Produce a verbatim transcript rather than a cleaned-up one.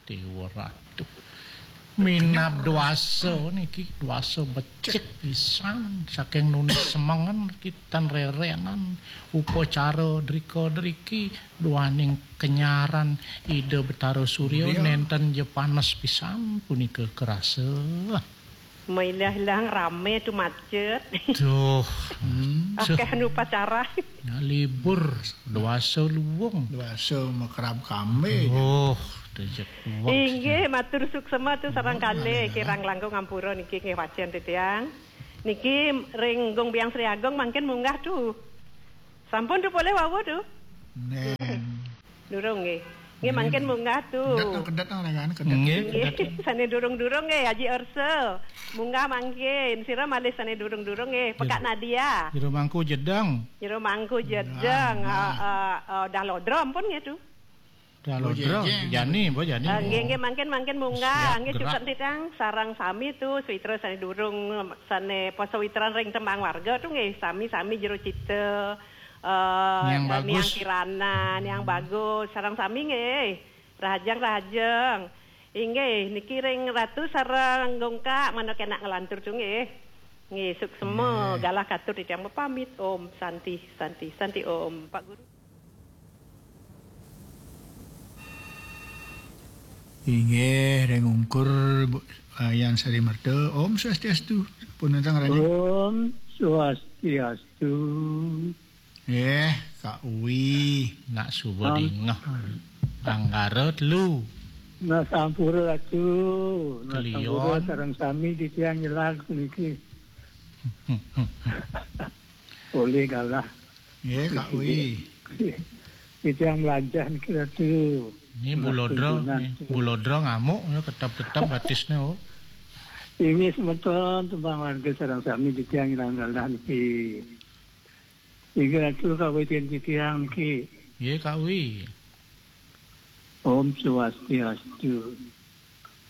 Dewa Ratu. Minab dwasa niki, dwasa becik pisan saking nuni semengen, kitan rerenan upacara drika-driki duaning kenyaran Ida Betara Surya. Surya. Nenten ja panes pisan punika kerasa. Mailah-ilah rame tu macet. Duh. Hmm. Akeh anu upacara. Ya, libur, dwasa luwung. Dwasa makrab kambe. Oh, dejek wong. Inggih, matur suksema tu sareng kalih, kirang langkung ampura niki nggih wacen titiang. Niki ring Gung Biang Sri Agung mangkin munggah tu. Sampun tu polih wau tu? Neng. Durung nggih. Nggih, mangkin munggah tu. Kedet, kedet, nang, nang, kedet. Nggih, nggih, kedet. Sane durung-durung nggih, Haji Orso. Munggah mangkin. Sira malih sane durung-durung nggih. Pekak Nadia. Jero mangku jedeng. Jero mangku jedeng. Nah, nah. Ah, ah, ah, dah lodra ampun nggih tu. Dah lodra. Jani, Mbok Jani. Ah, nggih, nggih, mangkin, mangkin munggah. Siap nggih, gerak. Cukup titang sareng sami tu, sawitra sane durung, sane poso witran ring tembang warga tu nggih, sami-sami jero cita. Eh, Niang Niang Bagus. Kirana, Niang Bagus, sareng sami nggih. Rahajeng, rahajeng. Inggih, niki ring Ratu sareng Gungkak, manawi kenak nglantur tu nggih. Nggih, suksema, nggih. Galah katur titiang mapamit. Om Santi, Santi, Santi Om. Pak Guru. Inggih, ring ungkur, Bu, Wayan Sari Merta. Om Swastiastu. Pun nentang rani. Om Swastiastu. Eh, Kak Uwi. Nak suba Am- dingeh. Anggara telu. Nah, sampura Ratu. Nah, sampura Kelion. Sareng sami titiang nyelag puniki. Oleh galah. Eh, Kak Uwi. Titiang melajah niki Ratu. Ini nah, Bulodro, tuntunan. Nih. Bulodro ngamuk, ya, ketap-ketap batisnya, oh. Ini semeton tembang warga sareng sami titiang nyelag galah niki. Inggih Ratu kawitin titiang niki. Nggih, Kak Wi. Om Swastiastu.